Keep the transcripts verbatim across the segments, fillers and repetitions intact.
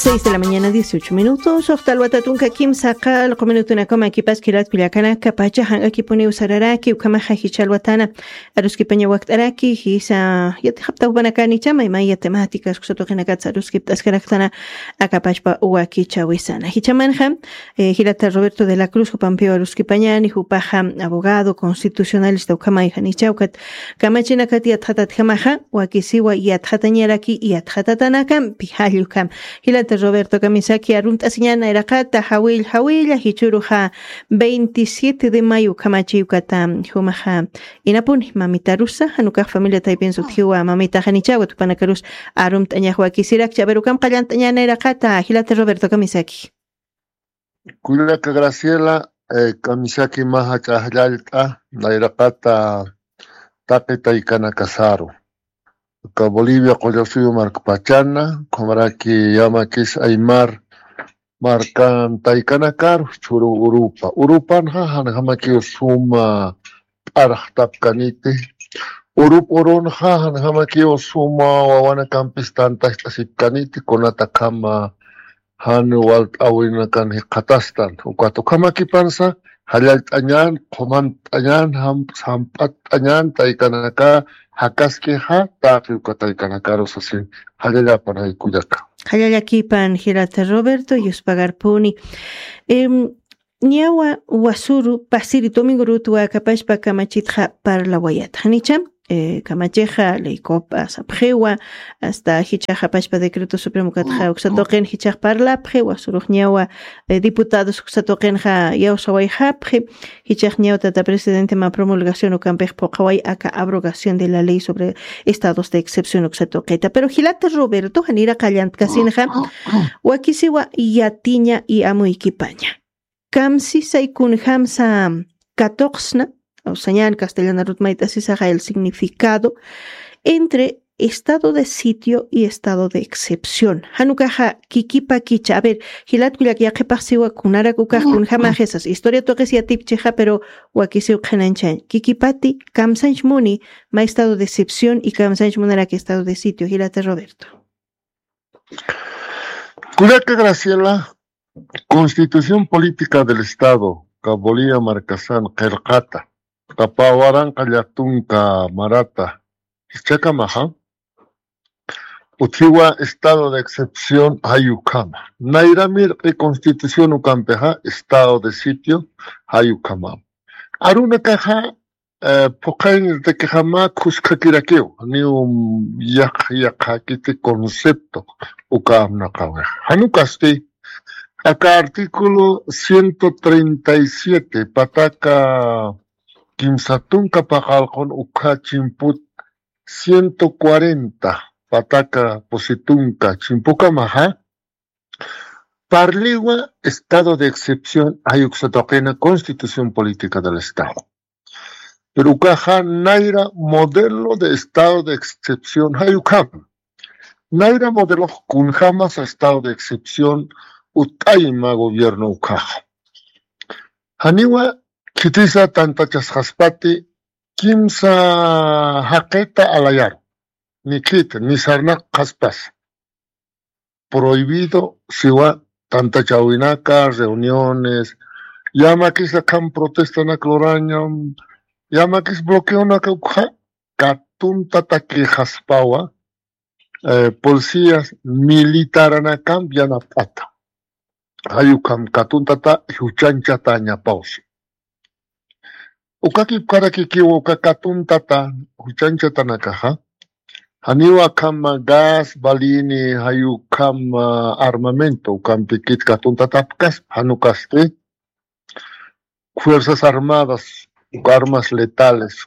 Seis de la mañana, dieciocho minutos. Ujta alwata tunka kimsa qallqu minutunakama kipas kilat kullakanaka pacha janq'akipuniw sararaki, ukhamaxa jichha alwatana aruskipaña wakt'araki, jisa yatixapta jupanakanicha maymaya temáticas kusatuqinakat aruskipt'askaraktana akapachpa wakichawisana. Jichhamanxa, eh, jilata Roberto de la Cruz jupampiw aruskipañani, jupaxa abogado constitucionalista ukhamayjanicha ukat kamachinakat yatxatatjamaxa, wakisiwa yatxatañaraki yatxatatanakam pijallukham. Jilata Roberto kamisaki arumt'asiñana iraqata, jawilla, jawilla, jichhuruxa veintisiete de mayo ukhamachi ukata jumaxa inapuni mamitarusa, janukax familia taypin sutjiwa mamitaxanichawa tupanakarus arumt'añax wakisirakcha, pero ukam qallant'añana iraqata, jilata Roberto kamisaki. Kullaka Graciela, eh, kamisaki mä jach'a ajllallt'a, nayraqata taqi taykanakasaru. Aka Bolivia qullasuyu markpachana, ukhamaraki yamakis aymar markan taykanakaru, chhuru urupa. Urupanxa janjamakiw suma p'arxtapkaniti. Urup urunxa janjamakiw suma wawanakampis tantacht'asipkaniti, kunatakhama jan walt'äwinakan jikxatastan. Ukat ukhamakipansa jallallt'añän, qhumant'añän, jam-, jamp'att'añän taykanaka jakaskixa, taqi uka taykanakaru sasi. Jallallapan jay kullaka. Jallallakipan jilata Roberto, yuspagarpuni. Em, Ñawa wasuru pasiri domingo rutwa kapachpa kamachitxa parlawayata. Janicha, eh, kamachixa ley copa sapxiwa, hasta jichaxa pachpa decreto supremo katxa uksa tuqin jichax parlapxi, wasurux ñawa, eh, diputados uksa tuqinxa yawsawayxapxi, jichax ñawa tata presidente mä promulgación ukampix phuqaway aka abrogación de la ley sobre estados de excepción uksa tuqita. Pero jilata Roberto, janira qallantkasinxa, wakisiwa yatiña y amuykipaña. Kamsisay kunjamsa katuqsna, o sea, ñan castellanarut mayt'asisaxa el significado entre estado de sitio y estado de excepción. Janukaxa kikipakicha. A ver, jilat kullak yaqhipax siwa kunarak ukax kunjamaxisas. Historia tuqis yatipchixa, pero wakisiw qhinañchañ. Kikipati kamsanch muni ma estado de excepción y kamsanch munarak estado de sitio. Jilata Roberto. Kullaka Graciela, Constitución Política del Estado, ka Bolivia markasan qillqata, ka pä waranqa llatunka marata, jichhakamaxa, utjiwa estado de excepción jay ukhama. Nayra mirq'i constitución ukampixa, estado de sitio jay ukhama. Arunakaxa, eh, phuqhaynirtakixama khuskakirakiw, niw yaq-, yaqhakiti concepto uka amnaqawix. Janukasti, aka artículo ciento treinta y siete, pataka kimsa tunka paqallqun ukha chimput ciento cuarenta, pataka pusi tunka chimpukamaxa, parliwa estado de excepción jay uksa tuqina Constitución Política del Estado. Pero ukaxa nayra modelo de estado de excepción jay ukham. Nayra modelo kunjamas estado de excepción ut'ayma gobierno ukaxa. Janiwa khitisa tantachasqaspati kimsa jaqita alayaru. Ni khita, ni sarnaqaspas. Prohibido siwa tantachawinaka, reuniones, yamakis akham protestanak lurañam, yamakis bloqueonaka ukxa, katuntatakixaspawa, eh, policías militaranakam yanapt'ata. Jay ukham katuntata juchanchatañapawsi. Uka kipkarakikiw uka katuntata juchanchatanakaxa, janiw akham gas, balini, jay ukham armamento, ukampikit katuntatapkaspa, janukasti Fuerzas Armadas, uka armas letales,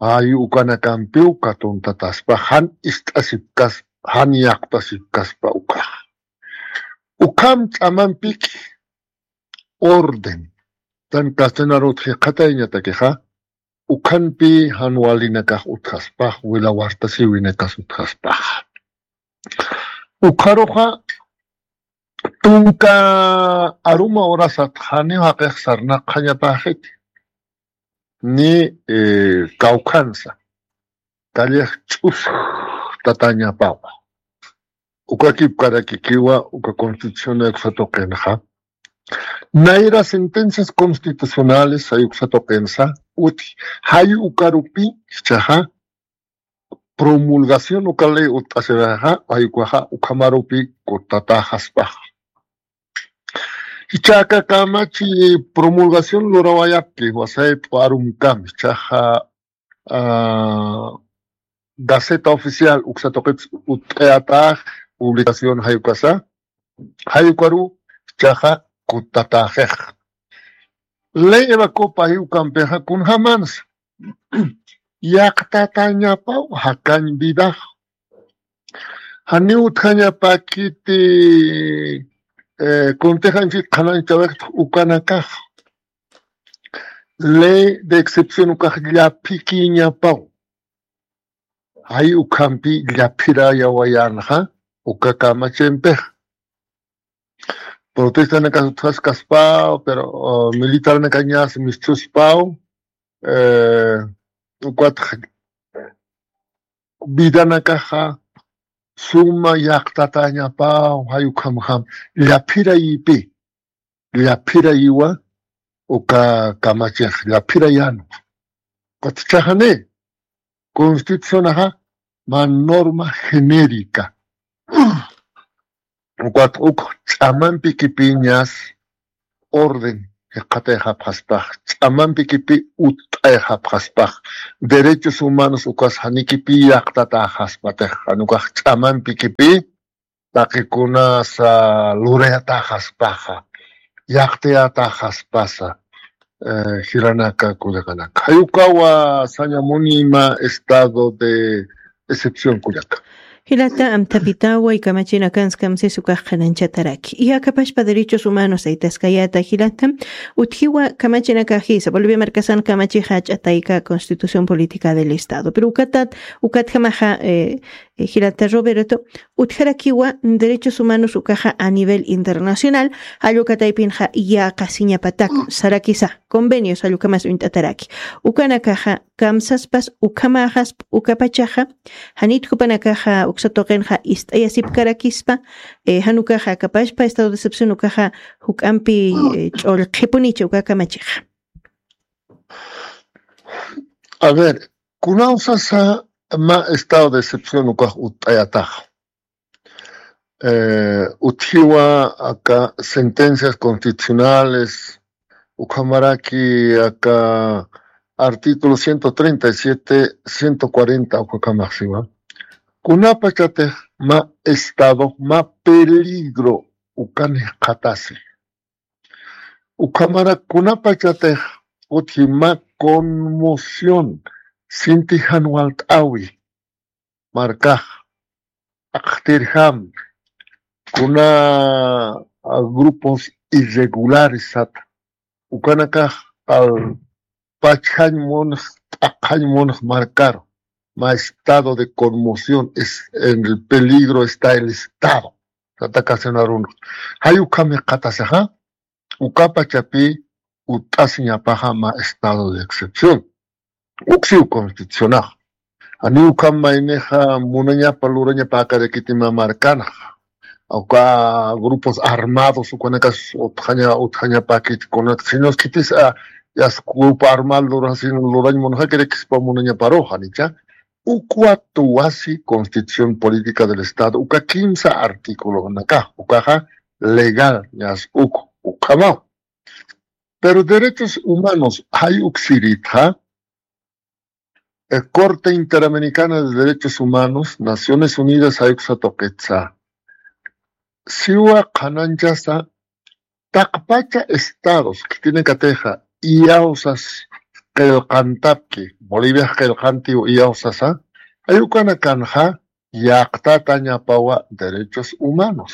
jay ukanakampiw katuntataspa, jan ist'asipkaspa, jan yaqpasipkaspa ukaxa. Ukham ch'amampiki orden. Tan castellanarut jikxatayñatakixa, ukhanpi jan walinakax utjaspax, wila wartasiwinakas utjaspax. Ukharuxa, tunka aruma urasat janiw jaqix sarnaqxañapaxiti. Ni, eh, kawkhansa. Kallix ch'usktatañapawa. Ukakipkarakikiwa uka constitución uksa tuqinxa. Nayra sentencias constitucionales jay uksa tuqinsa uti, jay ukarupi jichhaxa promulgación uka ley utt'asiraxa, jay ukaxa ukhamarupi kuttataxaspaxa. Jichha aka kamachi promulgación lurawayapki, wasay p'u arumkam, jichhaxa ah, Gaceta Oficial uksa tuqit utt'ayatax, publicación jay ukasa, jay ukaru jichhaxa kuttataxix. Ley Eva Copa jay ukampixa kunjamansa yaqtatañapaw jakañ vidax. Janiw utjañapakiti, eh, kuntix anchhit qhanañchawix ukanakax. Ley de excepción ukax llaphikiñapaw. Jay ukhampi llaphirayawayänxa uka kamachimpix. Protestanakas utjaskaspaw, pero, uh, militarnakañas mischhuspaw, eh, ukatx vidanakaxa suma yaqtatañapaw, jay ukhamjam llaphirayipi. Llaphirayiwa uka kamachix, llaphirayanwa. Ukatxa jani, constitucionaxa mä norma genérica. Ukat uk ch'amampikipiñas orden jikxatayxapxaspax, ch'amampikipi utt'ayxapxaspax, derechos humanos ukas janikipi yaqtataxaspatix, jan ukax ch'amampikipi taqikunasa lurayataxaspaxa, yaqtayataxaspasa, eh, jilanaka kullakanaka. Jay ukawa sañamuni mä estado de excepción kullaka. Jilata, amtapitawa y kamachinakansa kamsis ukax qhanañchataraki. Y akapashpa derechos humanos aytaskayata jilata, utjiwa kamachinakajisa, Bolivia markasan kamachixa ch'atayka constitución política del Estado. Pero ukatat, ukatjamaxa, eh, eh, jilata Roberto, utjarakiwa derechos humanos ukaxa a nivel internacional, jall uka taypinxa yäqasiñapatak, sarakisa, convenios jall ukamas uñt'ataraki. Ukanakaxa kamsaspas, ukhamaxasp, ukapachaxa, janit jupanakaxa uksa tuqinxa ist'ayasipkarakispa, eh, jan ukaxa akapashpa, estado de excepción ukaxa juk'ampi, eh, ch'ullqhipunicha uka kamachixa. A ver, kunaw sasa mä estado de excepción ukax utt'ayataxa. Eh, utjiwa aka sentencias constitucionales, ukhamaraki aka artículo ciento treinta y siete, ciento cuarenta, ukhamaxsiwa. Kunapachatix mä estado, mä peligro ukan jikxatasi. Ukhamarak kunapachatix utji mä conmoción sinti jan walt'äwi markax, akxtirjam, kuna, ah, grupos irregulares sata, ukanakax al pachjañ munx, t'aqhañ munx markaru, mä estado de conmoción, es, en el peligro está el Estado. Sata kasinarunx. Jay ukham jikxatasaxa, ukapachapi utt'asiñapaxa mä estado de excepción. Uksiw constitucionax. Janiw ukham maynixa munañapa lurañapäkarakiti mä markanxa. Uka grupos armados ukanakas utjaña, utjañapäkit kunak, sino khitis, ah, yas grupo armado lurasin, lurañ munxakirakispa munañaparux, janicha. Ukwa tuwasi Constitución Política del Estado, uka kimsa artículonaka, ukaxa legal, ñas uk, ukhamaw. Pero derechos humanos, jay uksirïtxa, eh, Corte Interamericana de Derechos Humanos, Naciones Unidas, jay uksa tuqitsa. Siwa qhanañchasa, taqpacha estados khitinakatixa iyawsas qillqantapki, Boliviax qillqantiw iyawsasa, jay ukanakanxa yaqtatañapawa derechos humanos.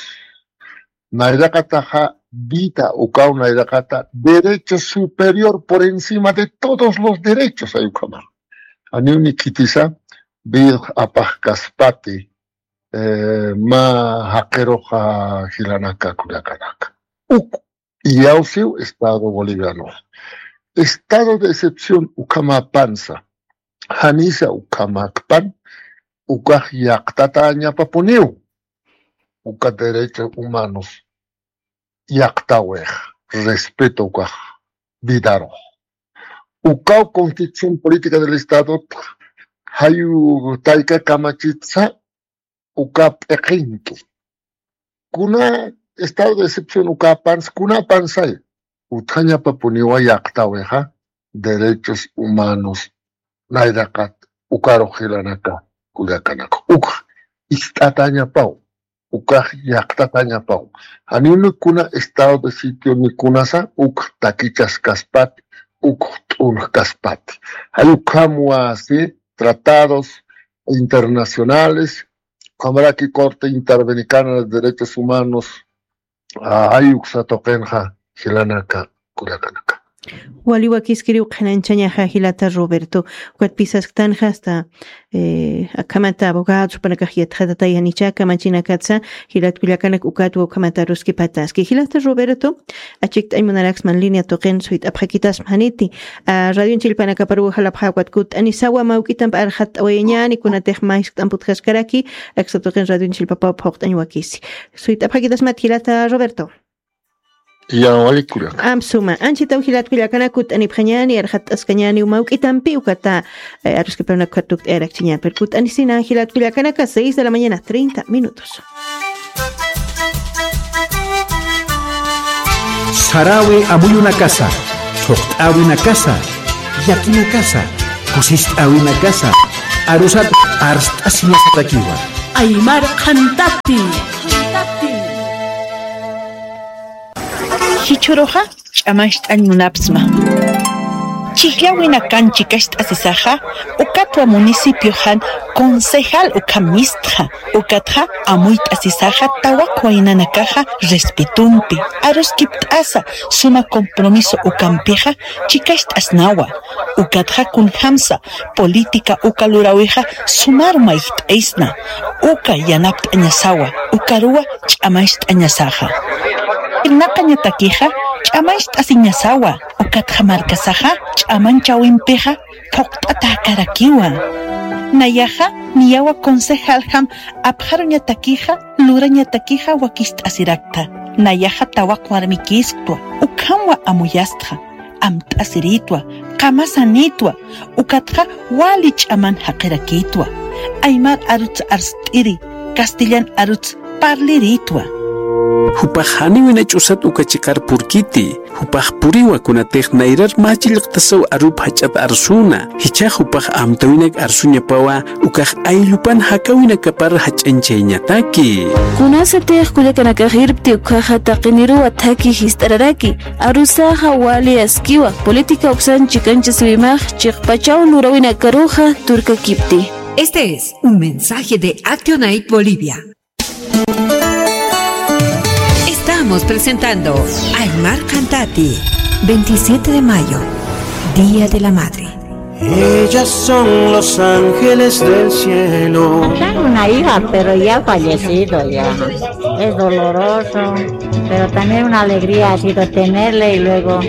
Nayraqataxa vida ukaw nayraqata derecho superior por encima de todos los derechos, jay ukhama. Janiw ni khitisa vida apaxkaspati, eh, mä jaqiruxa jilanaka kullakanaka. Uk iyawsiw Estado Boliviano. Estado de excepción ukhamapansa, janisa ukhamakpan, ukax yaqtatañapapuniw. uka derechos humanos llaqtawixa, respeto ukax vidarux. Ukaw Constitución Política del Estado jayu tayka kamachitsa uka p'iqinki. Kuna estado de excepción ukapansa, kunapansay utjañapapuniwa llaqtawixa derechos humanos nayraqat ukarux jilanaka kullakanaka. Ukx ist'atañapaw, ukax llaqtatañapaw. Janiw ni kuna estado de sitio ni kunasa ukx takichas kaspati, ukx t'unj kaspati. Jay ukhamwa si tratados internacionales, ukhamaraki Corte Interamericana de Derechos Humanos, a, jay uksa tuqinxa jilanaka kullakanaka. Wali wakiskiriw qhanañchañaxa jilata Roberto. Ukat pisasktanxa hasta, eh, akhamata abogados jupanakax yatxatatay janicha kamachinakatsa jilat kullakanak ukatwa ukhamata aruskipataski. Jilata Roberto, achikt'añ munaraksman línea tuqin suyt'apxakitasma janiti. A, radioñ chillpanakaparuw jalapxä ukat kutt'anisawa mawk'itamp arxatt'awayañäni kunatix mayskt'amp utjaskaraki, aksa tuqin radioñ chillpapaw phuqt'añ wakisi. Suyt'apxakitasmat jilata Roberto. Ya, wali kullaka. Amp suma. Anchitaw jilat kullakanak kutt'anipxañäni, arxatt'askañäni mawk'itampi ukata, eh, aruskiparunak ukat tukt'ayarakchiñäni. Pero kutt'anisina jilat kullakanaka, seis de la mañana, treinta minutos. Saräwi amuyunakasa, thuqt'äwinakasa, llakinakasa, kusist'äwinakasa, arusat arst'asiñasatakiwa. Aymar qhantati. Jichhüruxa ch'amancht'añ munapxsma. Chhijllawinakan chikacht'asisaxa, ukatwa municipioxan concejal ukham mistxa, ukatxa amuyt'asisaxa tawaq waynanakaxa respetompi, aruskipt'asa suma compromiso ukampixa chikacht'asnawa, ukatxa kunjamsa política uka luräwixa sumar mayjt'aysna, uka yanapt'añasawa, ukaruwa ch'amancht'añasaxa. Irnaqañatakixa ch'amancht'asiñasawa, ukatxa markasaxa ch'amanchawimpixa phuqt'atäkarakiwa. Nayaxa niyawa concejaljam apxaruñatakixa, lurañatakixa wakicht'asirakta. Nayaxa tawaq warmikïsktwa, ukhamwa amuyastxa. Amt'asirïtwa, qamasanïtwa, ukatxa wali ch'aman jaqirakïtwa. Aymar aruts arst'iri, castellan aruts parlirïtwa. Jupax janiw wina ch'usat uka chiqar purkiti, jupax puriwa kunatix nayrar mä chillqtasaw arup jach'at arsuna, jichhax jupax amtäwinak arsuñapawa, ukax ayllupan jakäwinakapar jach'añchayañataki. Kunasatix kullakanakax irpti ukkhaxa taqiniruwa thakhi jist'araraki, arusaxa wali askiwa, política uksan chikanchasiwimax chiqpachaw luräwinakaruxa turkakipti. Este es un mensaje de Actionaid Bolivia. Estamos presentando Aymar Qhantati, veintisiete de mayo, Día de la Madre. Ellas son los ángeles del cielo. Tengo una hija, pero ya ha fallecido ya. Es doloroso, pero también una alegría ha sido tenerle y luego...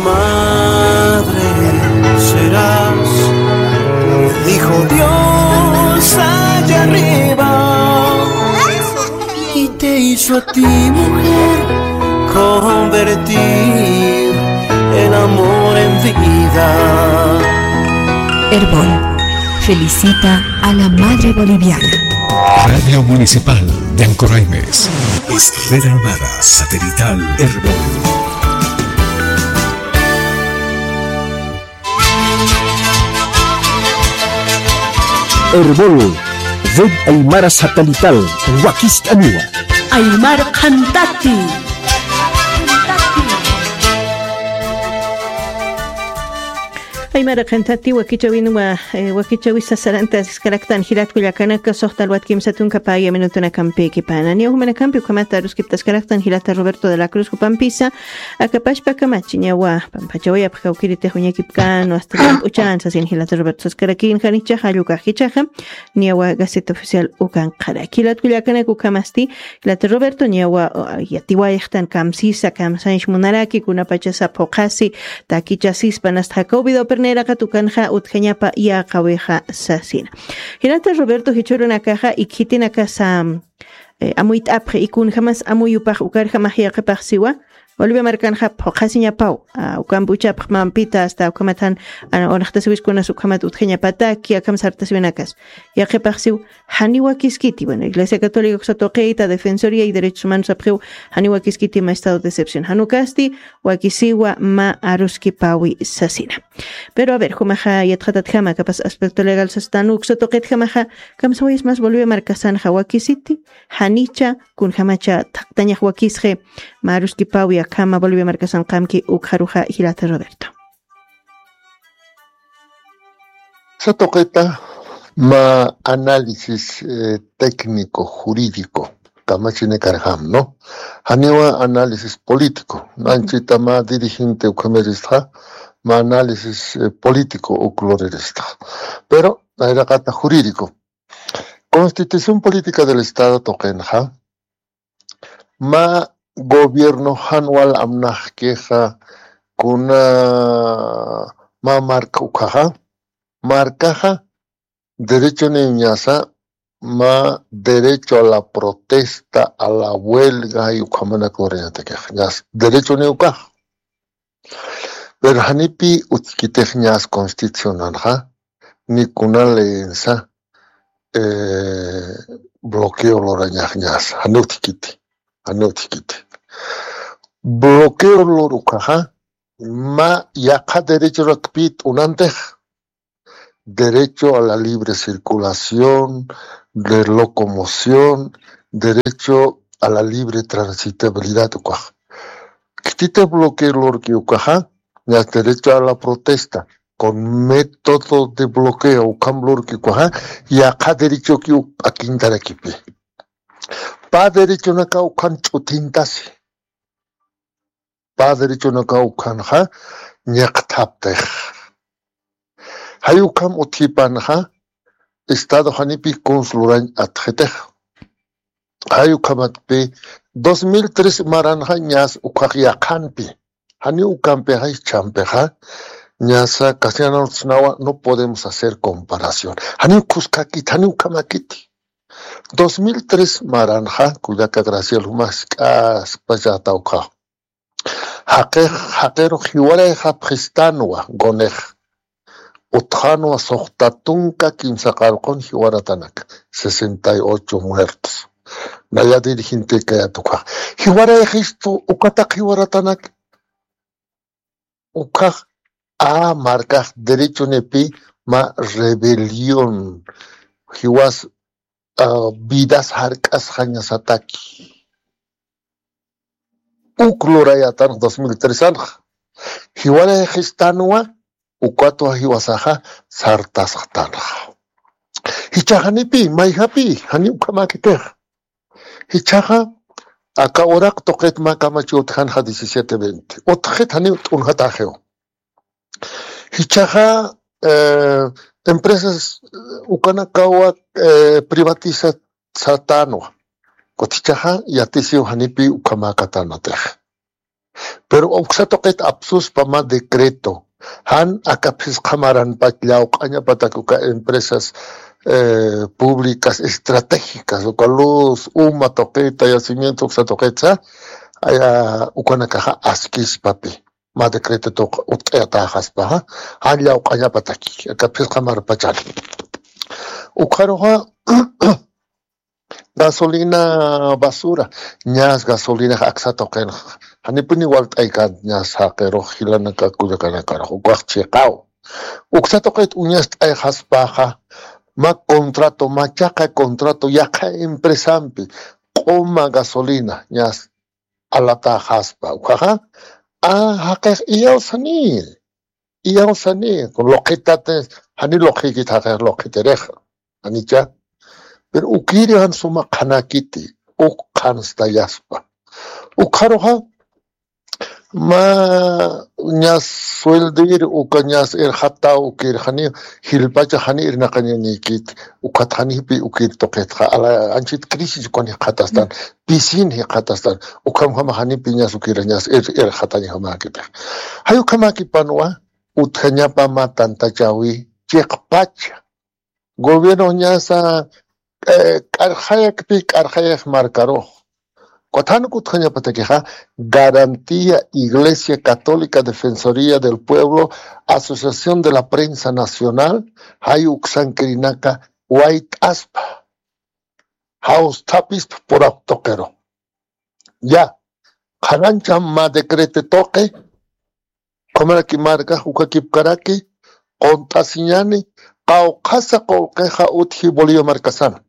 Madre serás, dijo Dios allá arriba. Y te hizo a ti, mujer, convertir el amor en vida. Erbol felicita a la madre boliviana. Radio Municipal de Ancoraimes. Es Red Aymara Satelital Erbol. Erbol, Red Aymara Satelital, wakist'aniwa. Aymar Qhantati. Aymar Qhantati wakichäwinwa, eh, wakichäwisa saranta asiskaraktan jilat kullakanaka, suxta alwat kimsa tunka paya minutunakampïkipana. Niya jumanakampi ukhamata aruskiptaskaraktan jilata Roberto de la Cruz jupampisa, aka pachpa kamachi niyawa pampachawayapx kawkïritix uñakipkänwa, hasta llamp'uchän sasin jilata Roberto saskarakïn, janicha jall ukax jichhaxa niyawa Gaceta Oficial ukanqaraki. Jilat kullakanak ukhamasti, jilata Roberto niyawa, uh, yatiwayxtan kamsisa, kamsañs munaraki, kunapachasa phuqhasi, takichasispa, nasta jakaw videopir nayraqat ukanxa utjañapa yäqawixa sasina. Jilata Roberto, jichhürunakaxa ikhïtinakasa, eh, amuyt'apxi, y kunjamas amuyupax ukarjamax yaqhipax siwa, Bolivia markanxa phuqhasiñapaw, ah, ukampi uchapxmampita hasta ukhamat jan, ah, unxtasiwiskunas ukhamat utjañapataki, akham sartasiwinakas. Yaqhipax siw, janiw wakiskiti, bueno, Iglesia Católica uksa tuqita, Defensoría y Derechos Humanos sapxiw, janiw wakiskiti mä estado de excepción. Jan ukasti, wakisiwa mä aruskipawi sasina. Pero a ver, jumaxa yatxatatjama, kapas aspecto legal sastan uksa tuqitjamaxa, kamsawayas mas Bolivia markasanxa wakisiti, janicha, kunjamacha thaqtañax wakisxi, mä aruskipawi akhama Bolivia markasan qamki ukxaruxa jilata Roberto. Sa tuqita mä análisis, eh, técnico, jurídico, kamachinikarjam, ¿no? Janiwa análisis político, nanchita mä dirigente ukhamiristxa, mä análisis, eh, político uk luriristxa. Pero, nayraqata jurídico. Constitución Política del Estado tuqinxa, mä gobierno jan wal amnaxkixa, kuna mä marka ukhaxa, markaxa, derechoniw ñasa, mä derecho a la protesta, a la huelga, y ukhamanak lurañatakix, ñas derechoniw ukax. Pero janipi utjkitix ñas constitucionanxa, ni kuna leensa, eh, bloqueo lurañax ñas, jani utjkiti, jani utjkiti. Bloqueo lur ukaxa, mä yaqha derechorakpi t'unantix, derecho a la libre circulación, de locomoción, derecho a la libre transitabilidad ukax. Khititix bloqueo lurki ukaxa, ñas derecho a la protesta, con método de bloqueo, ukham lurki ukaxa, yaqha derechoki uk p'akintarakipi. Pä derechonaka ukhan ch'uthintasi. Pä derechonaka ukhanxa ñiqthaptix. Jay ukham utjipanxa, Estado janipi kuns lurañ atxitix. Jay ukhamatpi, dos mil tres maranxa ñas ukhax yaqhanpi. Jani ukampixa, jichhampixa, ñasa castellano snawa, no podemos hacer comparación. Jani ukhuskakit, jani ukhamakiti. Dos mil tres maranxa, kullaka Graciela, jumax k'aspachata ukhax. Jaqix, jaqirux jiwarayxapxistanwa, gonix. Utxanwa suxta tunka kimsa qarqun jiwaratanak, sesenta y ocho muertos. Naya dirigente kayat ukhax. Jiwarayxistu, ukataq jiwaratanak. Ukhax, a markax derechonipi mä rebelión. Jiwas, ah, vidas jark'asxañasataki. Uk lurayatan dos mil tres anxa. Jiwarayxistanwa, ukatwa jiwasaxa sartasxtanxa. Jichhax janipi, mayjapi, jani ukhamakitix. Jichhaxa, aka uraq tuqit mä kamachi utjanxa diecisiete veinte. Utjxit jani t'unjataxiw. Jichhaxa, eh, empresas, eh, ukanakawa, eh, privatizatanwa. Kutichaxa yatisiw janipi ukhamäkatanatix. Pero uksa tuqit apsuspa mä decreto. Jan aka phisqa maranpach llawq'añapatak uka empresas, eh, públicas estratégicas, uka luz, uma tuqita, yacimiento, uksa tuqitsa, aya, ukanakaxa askispapi. Mä decreto tuq utt'ayatäxaspaxa, jan llawq'añapataki, aka phisqa marpachan. Ukxaruxa, gasolina basura, ñas gasolinax aksa tuqinxa. Janipuni walt'aykan ñas jaqirux jilanaka kullakanakarux, ukax chiqaw. Uksa tuqit uñast'ayxaspaxa, mä contrato, mä chaqay contrato, yaqha empresampi, q'uma gasolina, ñas alatäxaspa. Ukhaxa, a, jaqix iyawsani. Iyawsani, kun luqhitat, jani luqhikit jaqix luqhitirix. Janicha. Pero ukiri jan suma qhanakiti, uk qhanstallaspa. Ukxaruxa, mä ñas sueldir, uka ñas irxataw ukir, jani jilpacha jani irnaqañañikit, ukat janipi ukir tuqitxa, ala anchit crisis ukan jikxatastan, pisin jikxatastan, ukhamjama janipi ñas ukir ñas ir, irxatañjamäkitix. Jay ukhamakipanwa, utjañapa mä tantachawi, chiqpacha. Gobierno ñasa, eh, k'arxayakpi, k'arxayax markarux. Kuthan kutxañapatakixa, Garantía Iglesia Católica Defensoría del Pueblo, Asociación de la Prensa Nacional, jay uksankirinaka wayt'aspa, jawsthapispa purap tuqiru. Ya, qhanancha mä decreto tuqi, ukhamaraki markax ukakipkaraki, qunt'asiñani, qawqhasa qullqixa utji Bolivia markasan.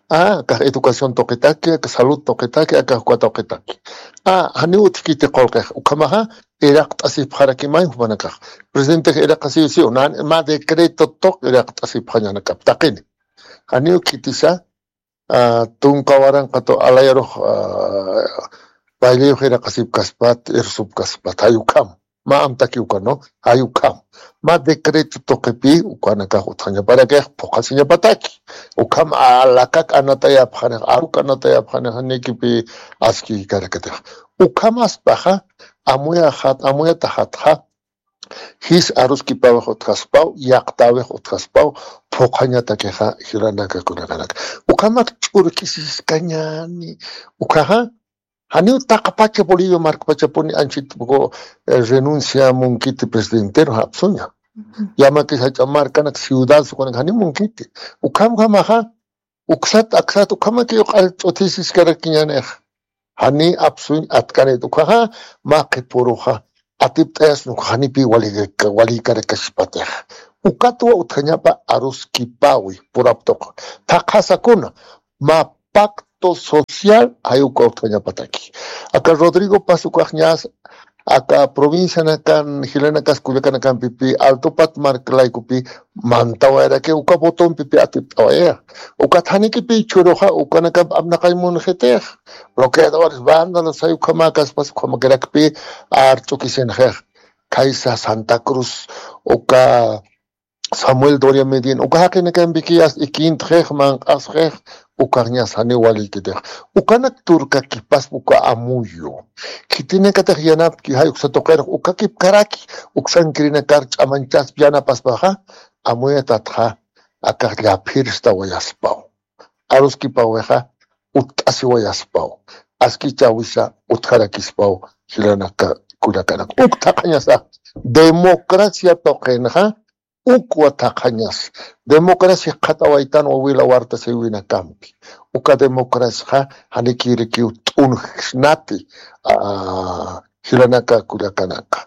Ah, akax educación tuqitaki, akax salud tuqitaki, akax uka tuqitaki. Ah, janiw utjkiti qullqix, ukhamaxa, iraqt'asipxarakimay jumanakax. Presidentex iraqasiw siw, nan, mä decreto tuq iraqt'asipxañanakap, taqini. Janiw khitisa, ah, tunka waranqatu alayarux, ah, bayleyux iraqasipkaspat, irsupkaspat, jay ukham. Mä amtaki uka, ¿no? Jay ukham. Mä decreto tuqipi, ukanakax utjañaparakix, phuqhasiñapataki. Ukham alakak anatayapxanix, aruk anatayapxanix, janikipi askikarakitix. Ukhamaspaxa, amuyaxat, amuyataxatxa, jis aruskipawix utjaspaw, yaqtawix utjaspaw, phuqhañatakixa, jilanaka kullakanaka. Ukhamak ch'urkisiskañani, ukhaxa, janiw taqpacha Bolivia markpachapuni anchit, eh, renuncia munkiti presidentero apsuña. Ujú. Yamakis jach'a markanak ciudad sukunak janiw munkiti. Ukham ukhamaxa, uksat, aksat, ukhamaki uq'al ch'uthisiskarakiñanix. Jani apsuñ atkanit ukhaxa, mä qhipuruxa, atipt'ayas nuk janipi wali, wali karakasipatix. Ukatwa utjañapa aruskipawi, purap tuq. Thaqhasakuna, mä pacto social, jay uka utjañapataki. Aka Rodrigo Paz ukax ñas, aka provincianakan, jilanakas kullakanakampipi, Altopat mark laykupi, mantawayaraki uka botonpipi atipt'awaya. Ukat janikipi churuxa, ukanakamp apnaqañ munxitix. Bloqueadores, vándalos, jay ukhamakaspas, ukhamakirakpi, arch'ukisinxix. Khaysa Santa Cruz, uka Samuel Doria Medina, uka jaqinakampikiyas ikintxix, manq'asxix, ukaxñas janiw walïkitix. Ukanak turkakipaspa uka amuyu. Khitinakatix yanapki, jay uksa tuqirux, ukakipkaraki, uksankirinakar ch'amañchaspa yanapaspaxa, amuyatatxa, akax llaphirstawayaspaw. Aruskipawixa, utt'asiwayaspaw. Askichäwisa, utjarakispaw, jilanaka, kullakanaka. Uk thaqhañasa, democracia tuqinxa, ukwa thaqhañas. Democracia jikxatawaytan wawila warta siwinakampi. Uka democraciaxa janikïrikiw t'unjksnati, ah, jilanaka kullakanaka.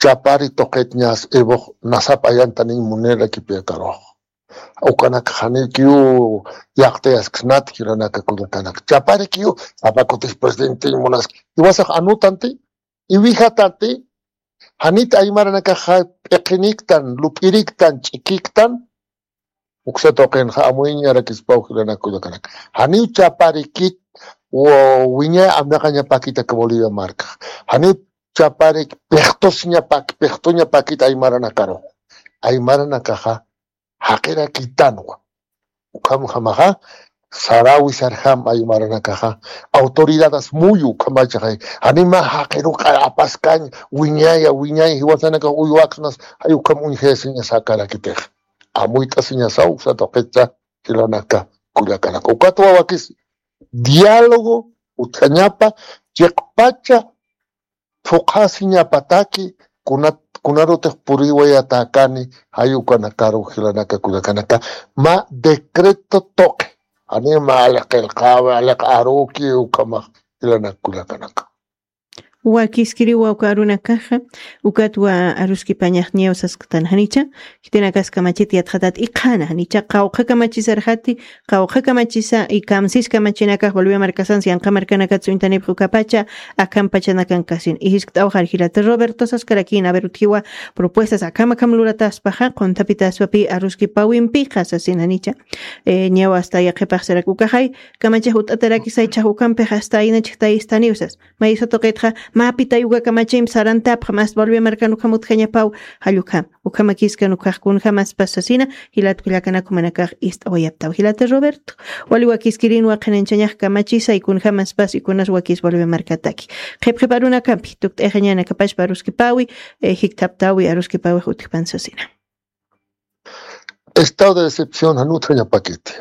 Chapari tuqitñas iwux nasap ayantaniñ munirakipi akarux. Ukanak janikiw yaqtayasksnati jilanaka kullakanaka. Chaparikiw, sapa kutis presidentiñ munaski. Iwasax anutanti, iwijatanti, janit aymaranakaxa p'iqiniktan, lup'iriktan, ch'ikiktan, uksa tuqinxa amuyañarakispaw jilanaka kullakanaka. Janiw chaparikit, o wiñay amnaqañapakit aka Bolivia markax. Janiw chaparik, piqtusiñapak, piqtuñapakit aymaranakaru. Aymaranakaxa, jaqirakitanwa. Ukhamjamaxa, sarawi sarjam aymaranakaxa, autoridades muyu ukhamachaxay. Janima jaqiruqa apaskañ, wiñaya, wiñay, jiwasanakax uywaksnas, jay ukham uñjayasiñasakarakitix. Amuyt'asiñasaw, uksa tuqitsa, jilanaka, kullakanaka. Ukatwa wakis, diálogo, utjañapa, chiqpacha, phuqhasiñapataki, kunat, kunarutix puriwayatäkani, jay ukanakaru jilanaka kullakanaka, mä decreto tuqi. Jani mä aliq qillqawi, aliq aruki, ukhamax jilanaka kullakanaka. Wakiskiriwa uka arunakaxa, ukatwa aruskipañax niyaw sasktan janicha, khitinakas kamachit yatxatat iqhana janicha, qawqha kamachisarxati, qawqha kamachisa, y kamsis kamachinakax Bolivia markasansi, yanqa markanakatsa uñtanipxi ukapacha, akham pachanakan kasin. Ijiskt'awxar jilata Roberto saskarakïn, a ver, utjiwa propuestas akham akham lurataspaxa, qunthapitaspapi aruskipawimpixa sasin janicha. Eh, ñaw hasta yaqhipax sarak ukaxay, kamachix ut'atarakisay chhax ukampix hasta aynachix tayistaniw sas. Maysa tuqitxa, mä pitay uka kamachimp sarantapxa, mas Bolivia markan ukham utjañapaw, jall ukham. Ukhamakiskan ukax kunjamaspas sasina, jilat kullakanak jumanakax ist'awayaptaw. Jilata Roberto, wali wakiskirinwa qhanañchañax kamachisay kunjamaspas y kunas wakis Bolivia markataki. Qhipqhip arunakampi, tukt'ayxañanakapachpa aruskipawi, eh, jikthaptawi aruskipawix utjpan sasina. Estado de excepción, jan utjañapakiti.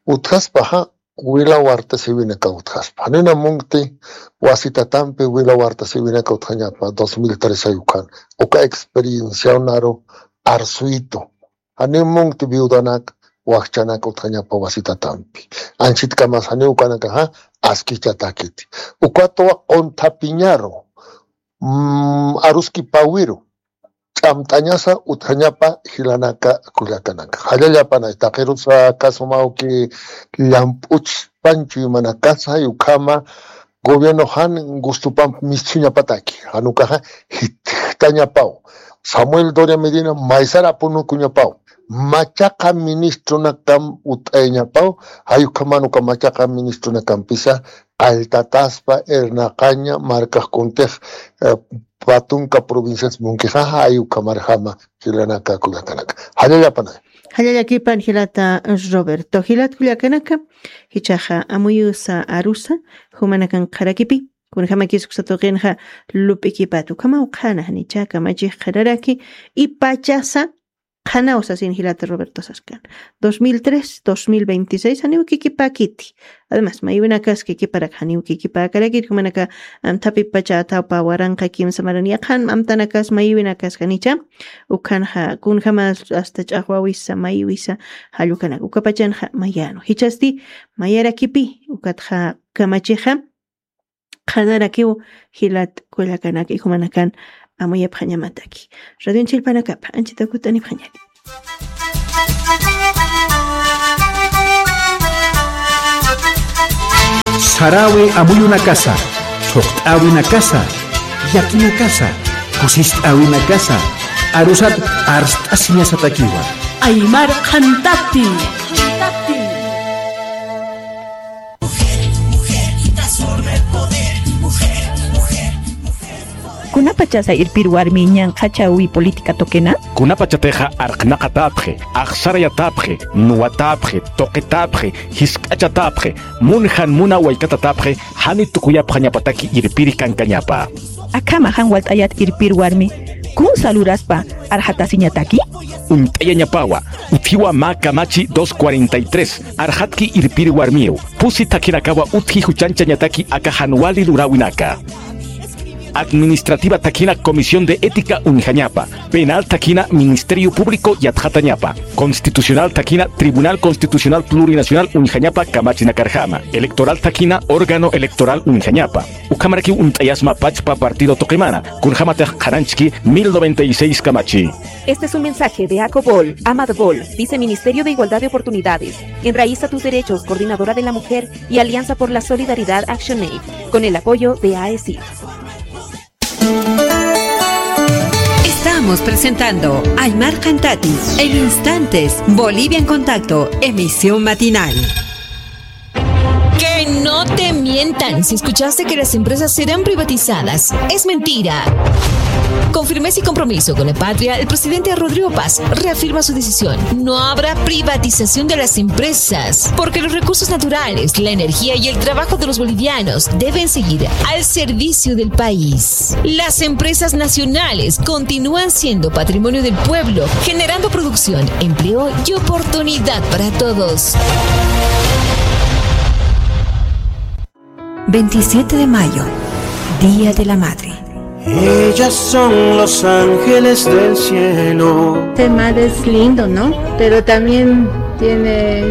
utjaspaxa, wila warta siwinaka utjaspa. Janina munkti wasitatampi wila warta siwinaka utjañapa, dos mil tres ay ukan. Uka experienciaw naru arsuyitu. Janiw munkti viudanak, wakchanak utjañapa wasitatampi. Anchitkamas janiw ukanakaxa askichatakiti. Ukatwa qunthapiñaru, mm, aruskipawiru, ch'amt'añasa utjañapa jilanaka kullakanaka. Jallallapanay, taqirusa kasumawki llamp'uchpan chuymanakasa, ukhama gobierno jan gustupamp misthuñapataki, jan ukaxa jitjtañapaw. Samuel Doria Medina maysar apunukuñapaw. Machaqa ministronakam ut'ayañapaw, jay ukhaman uka machaqa ministronakampisa qalltataspa, irnaqaña, markax kuntix, eh, patunka provincias munkixa, jay ukhamarjama jilanaka kullakanaka. Jallallapanay. Jallallakipan jilata Roberto. Jilat kullakanaka, jichhaxa amuyusa arusa, jumanakan qharakipi, kunjamakis uksa tuqinxa lup'ikipat, ukhamaw qhana janicha kamachix qhanaraki, y pachasa qhanaw sasin jilata Roberto saskan. Dos mil tres, dos mil veintiséis, janiw kikipäkiti. Además, mayiwinakas kikiparak janiw kikipäkarakiti, jumanaka amthapi pacha athawpa waranqa kimsa maran yaqhan amtanakas mayiwinakas janicha, ukhanxa kunjamas hasta ch'axwawisa, mayiwisa, jallukanak ukapachanxa mayanu. Jichhasti mayarakipi, ukatxa kamachixa, qhanarakiw jilat kullakanaka, jumanakan amuyapxañamataki. Radionchis jilpanakapa, anchita kut'anipxañani. Saräwi amuyunakasa, thuqt'äwinakasa, llakinakasa, kusist'äwinakasa, arusat arst'asiñasatakiwa. Aymar Qhantati. Kunapachasa irpir warmi ñanqhachawi política tuqina? Kunapachatixa arqnaqatäpxi, axsarayatäpxi, nuwatäpxi, tuqitäpxi, jisk'achatäpxi, munjan muna waykatatapxi, jani tukuyapxañapataki irpiri kankañapa. Akhama jan walt'ayat irpir warmi, kunsa luraspa arxatasiñataki? Uñt'ayañapawa, utjiwa mä kamachi dos cuarenta y tres, arxatki irpir warmiw, pusi thakhinakawa utji juchanchañataki aka jan wali luräwinaka. Administrativa thakina Comisión de Ética uñjañapa, penal thakina Ministerio Público yatxatañapa, constitucional thakina Tribunal Constitucional Plurinacional uñjañapa kamachinakarjama, electoral thakina órgano electoral uñjañapa. Ukhamarakiw uñt'ayasma pachpa partido tuqimana, kunjamatix qhananchki mil noventa y seis kamachi. Este es un mensaje de Acobol, Amadbol, Viceministerio de Igualdad de Oportunidades, Enraiza tus Derechos, Coordinadora de la Mujer y Alianza por la Solidaridad Action Aid, con el apoyo de AECID. Estamos presentando Aymar Qhantati en instantes, Bolivia en Contacto, emisión matinal. Que no te mientan si escuchaste que las empresas serán privatizadas. Es mentira. Con firmeza y compromiso con la patria, el presidente Rodrigo Paz reafirma su decisión. No habrá privatización de las empresas, porque los recursos naturales, la energía y el trabajo de los bolivianos deben seguir al servicio del país. Las empresas nacionales continúan siendo patrimonio del pueblo, generando producción, empleo y oportunidad para todos. Veintisiete de mayo, Día de la Madre. Ellas son los ángeles del cielo. Ser madre es lindo, ¿no? Pero también tiene,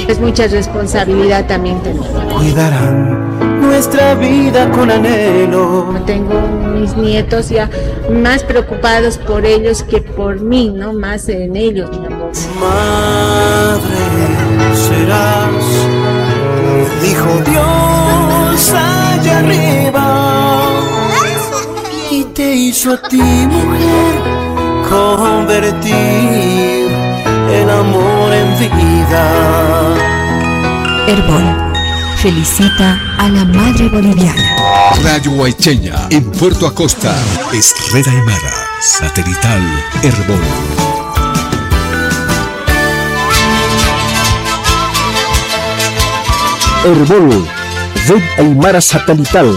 es mucha responsabilidad también tener. Cuidarán nuestra vida con anhelo. Tengo mis nietos ya más preocupados por ellos que por mí, ¿no? Más en ellos, mi amor. Madre serás, dijo Dios allá arriba. Y te hizo a ti, mujer, convertir el amor en vida. Erbol felicita a la madre boliviana. Radio Huaycheña, en Puerto Acosta, es Red Aymara, satelital Erbol. Erbol, Red Aymara Satelital,